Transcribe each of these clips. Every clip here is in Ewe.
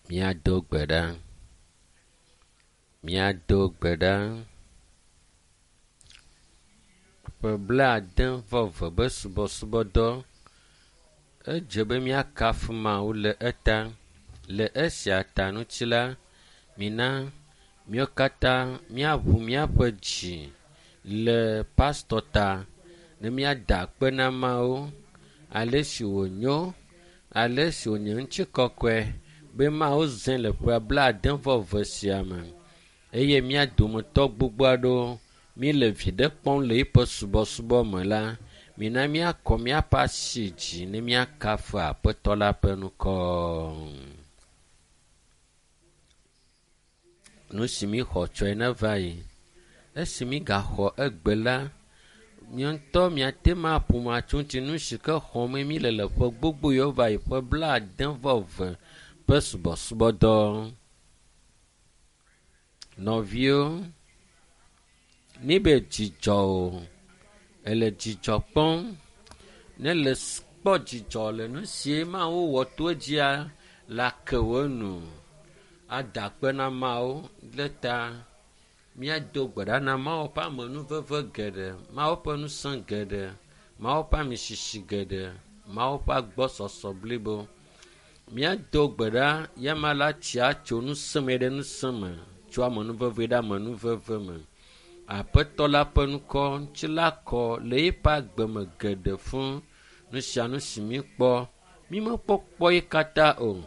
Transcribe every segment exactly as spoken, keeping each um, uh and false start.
Míado gbe ɖa. Míado gbe ɖa. Ƒe blaade vɔ eve be subɔsubɔdɔ. Edze be míakafu Mawu le eta. Le esia ta ŋuti la, mina míawo katã míaʋu míaƒe dzi le pastɔ ta ne míada akpe na Mawu ale si wònyo, ale si wònye ŋutikɔkɔe be Mawu zãe le ƒe blaade vɔ eve sia me eye mía dometɔ gbogbo aɖewo míele viɖe kpɔm le eƒe subɔsubɔ me la, mina míakɔ míaƒe asi dzi ne míakafu Aƒetɔ la ƒe ŋkɔ. Nu si míxɔ tsɔe neva yi. Esi mígaxɔ egbe la, mía ŋutɔ míate ŋu aƒo nu atso ŋuti nu si ke xɔm míle le ƒe gbogbo yiwo va yi ƒe blaade vɔ eve ƒe subɔsubɔdɔ. Nɔviwo, míbe dzidzɔ o, ele dzidzɔ kpɔm. Ne le kpɔ dzidzɔ le nu si Mawu wɔ to edzia, la ke wo nu. Ada akpe na Mawu ɖe ta. Míado gbe ɖa na Mawu ƒe amenuveve geɖe, Mawu ƒe ŋusẽ geɖe, Mawu ƒe amisisi geɖe, Mawu ƒe agbɔsɔsɔ blibo. Míado gbe ɖa yama la tsia tso ŋusẽ me ɖe ŋusẽ me, tso amenuveve ɖe amenuveve me. Aƒetɔ la ƒe ŋkɔ ŋuti la kɔ le eƒe agbe me geɖe fũu. Nu sia nu si míkpɔ, mímekpɔkpɔ ye katã o.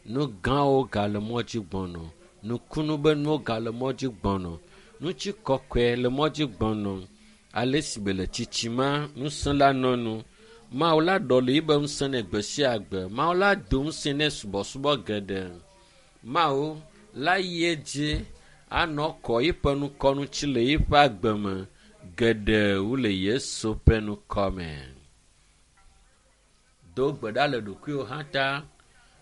Nu gãwo gale mɔ dzi gbɔnɔ. Nukunu be nuwo gale mɔ dzi gbɔnɔ. Ŋutikɔkɔe le mɔ dzi gbɔnɔ. Ale si be le tsitsima, ŋusẽ la nɔ nu. Mawu la ɖɔli yibe ŋusẽ nɛ gbe sia gbe. Mawu la do ŋusẽ nɛ subɔsubɔ geɖe. Mawu la yi edzi anɔ kɔ yiƒe ŋkɔ ŋuti le yiƒe agbe me geɖe wu le Yesu ƒe ŋkɔ me. Do gbe ɖa le ɖokuiwò hã ta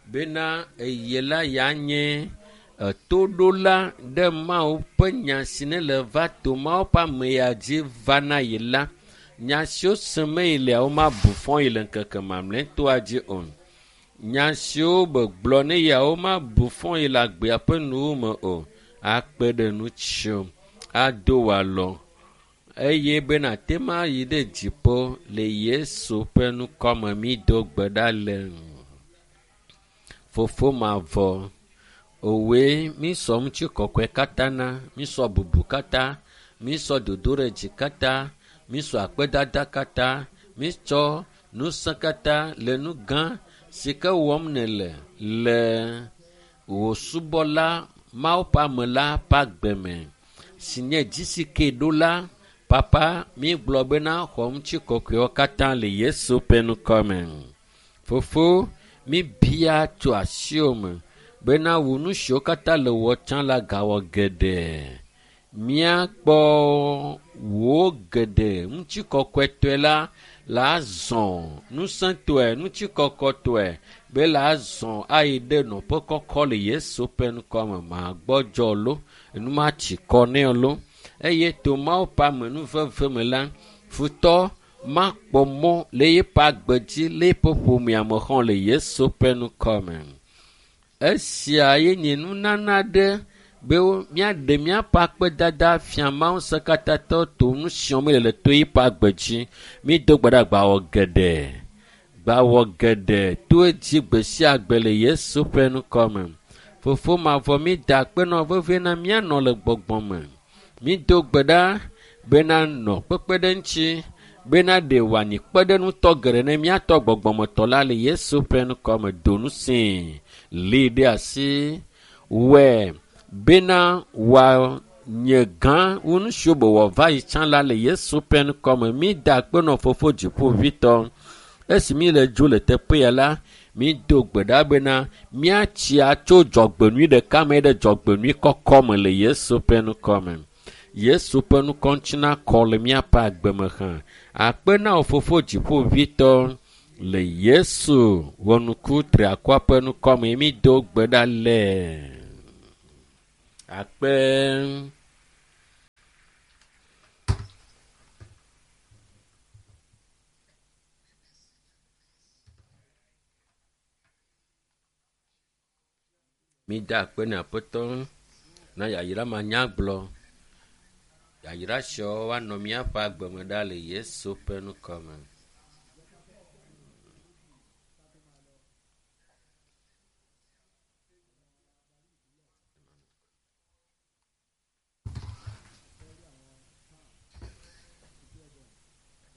bena eye la ya nye etoɖola ɖe Mawu ƒe nya si ne le va to Mawu ƒe ame ya dzi va na yi la. Nya siwo sem yi lea womabu fɔ yi le ŋkeke mamlɛtɔa dzi o. Nya siwo begblɔ ne ya womabu fɔ yi le agbea ƒe nuwo me o. Akpe ɖe ŋutiwò, ado wò alɔ eye bena ate ŋu ayi ɖe dziƒo le Yesu ƒe ŋkɔ me mído gbe ɖa le. Fofo mavɔ, òwòe mísɔ ŋutikɔkɔe katã na, mísɔ bubu katã, mísɔ dodoɖedzi katã, mísɔ akpedada katã, mítsɔ ŋusẽ katã le nu gã si ke wɔm nèle le wò subɔla Mawu ƒe ame la ƒe agbe me si nye dzisike ɖola. Papa, mígblɔ bena xɔ ŋutikɔkɔewo katã le Yesu ƒe ŋkɔ me. Fofo, míbia tso asiwò me bena wò nu siwo katã le wɔ tsã la gawɔ geɖe. Míakpɔ wò geɖe ŋutikɔkɔetɔe la la zɔ ŋusẽtɔe, ŋutikɔkɔtɔe be la zɔ ayi ɖe nɔƒe kɔkɔ le Yesu ƒe ŋkɔ me. Magbɔdzɔ lo, enu matsi kɔ nɛ lo eye to Mawu ƒe amenuveve me la, futɔ makpɔ mɔ le eƒe agbe dzi le eƒe ƒomea me xɔ le Yesu ƒe ŋkɔ me. Esia ye nye nunana ɖe be míaɖe míaƒe akpedada fia Mawu ŋusẽkatãtɔ to nu siwo míele le to eƒe agbe dzi. Mído gbe ɖa gbawɔ geɖe, gbawɔ geɖe to edzi gbe sia gbe le Yesu ƒe ŋkɔ me. Fofo mavɔ mída akpe nɔ vevie na míanɔ le gbɔgbɔ me. Mído gbe ɖa bena nɔ kpekpeɖeŋuti bena ɖe wòanyi kpeɖeŋutɔ geɖe ne míatɔ gbɔgbɔmetɔ la le Yesu ƒe ŋkɔ me. Do ŋusẽe, lée ɖe asi, wɔe bena wòanye gã wu nu siwo be wòava yi tsã la le Yesu ƒe ŋkɔ me. Mída akpe nɔ fofo dziƒoʋĩtɔ. Esi míle dzo le teƒe ya la, mído gbe ɖa bena míatsi atso dzɔgbenyui ɖeka me ɖe dzɔgbenyui kɔkɔ me le Yesu ƒe ŋkɔ me. Yesu ƒe ŋkɔ ŋuti nakɔ le míaƒe agbe me hã. Akpe na wò fofo dziƒoʋĩtɔ le Yesu wɔnuku triakɔa ƒe ŋkɔ me mído gbe ɖa le. Akpe. Mida akpe na Aƒetɔ na yayra manyagblɔ. Yayra siawo woanɔ míaƒe agbe me ɖa le Yesu ƒe ŋkɔ me.